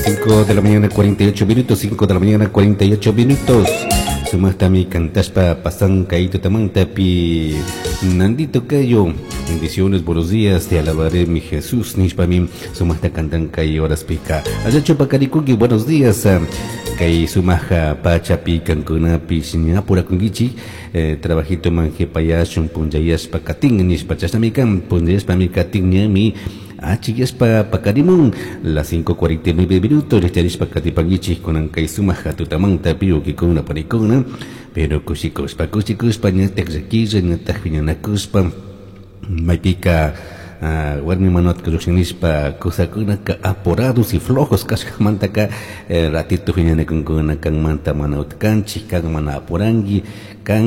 5 de la mañana 48 minutos, 5 de la mañana 48 minutos. Sumajtami cantashpa pasan kay tutamantapi Nandito Cayo. Bendiciones, buenos días, te alabaré mi Jesús. Nishpami sumajta cantan kay horaspika. Allachu pakarikuki, buenos días. Kay sumaja pachapi kankunapish ñapurakunkichik trabajito man jepayashun punllayashpa katin nishpa chashnami kan punllayashpami katin ñami achiyashpa pakarimun las 5:49 minutos richarishpa katipankichik kunan kay sumaja tutamanta piukikuna panikuna pero kushikushpa kushikushpa ñatak llakilla ñatak piñanakushpa maypika warmi manatka llukshin nishpa kusakunaka apurados y flojos kashkamantaka ratito piñanakunkuna kanmanta mana utkanchik kan mana apuranki kan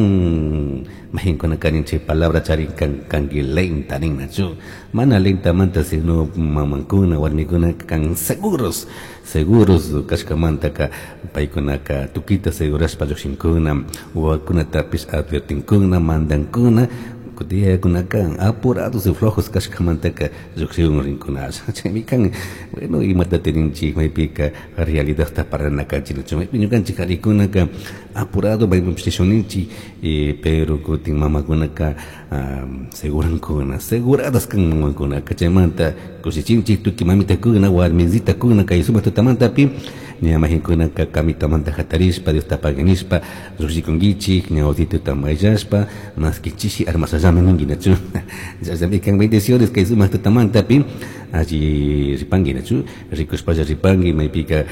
majinkuna kanin chay palabra charin kan kanki lenta ninnachu mana lentamanta sino mamankuna warmikuna kan seguros seguros kashkamantaka paykunaka tukita segurashpa llukshinkuna wawakunatapish advertinkuna mandankuna kutiyakunaka apurados y flojos kashkamantaka llukshiun rinkuna chaymi kan bueno imata tininchik maypika realidadta parlanakanchik nachu maypi ñukanchik qharikunaka apurado maypipish rishunninchik pero kutin mamakunaka segurankuna seguradas kan mamakunaka chaymanta kushichinchik tukuy mamitakuna warmisitakuna kay sumaq tutamantapi ña majinkunaka kamitamanta hatarishpa Diosta paganishpa llukshikunkichik ña wasituta mayllashpa maski chishi armasallami ninki nachu chashnami kan bendiciones kay sumaq tutamantapi alli ripanki nachu rikushpalla ripanki maypika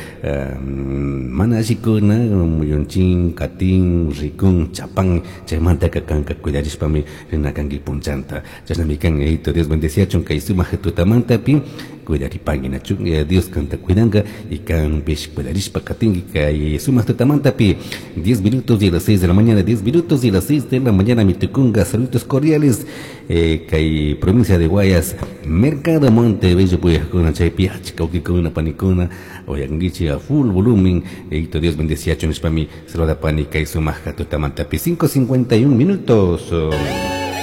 mana allikuna muyunchin katin rikun chapan chaymantaka kanka cuidarishpami rinakanki punchanta chashnami kan Yayito Dios bendeciachun kay sumaq tutamantapi cuidaripanki nachu Dios kanta cuidanka y kanpish cuidarishpa katinki kay sumaq tutamantapi 10 minutos y las 6 de la mañana 10 minutos y las 6 de la mañana mitukunga saludos cordiales kay provincia de Guayas Mercado Montebello puyajkuna chaypi achka wawkikuna panikuna uyankichik a full volumen Yayito Dios bendeciachun nishpami saludapani kay sumaq tutamantapi 5:51 minutos.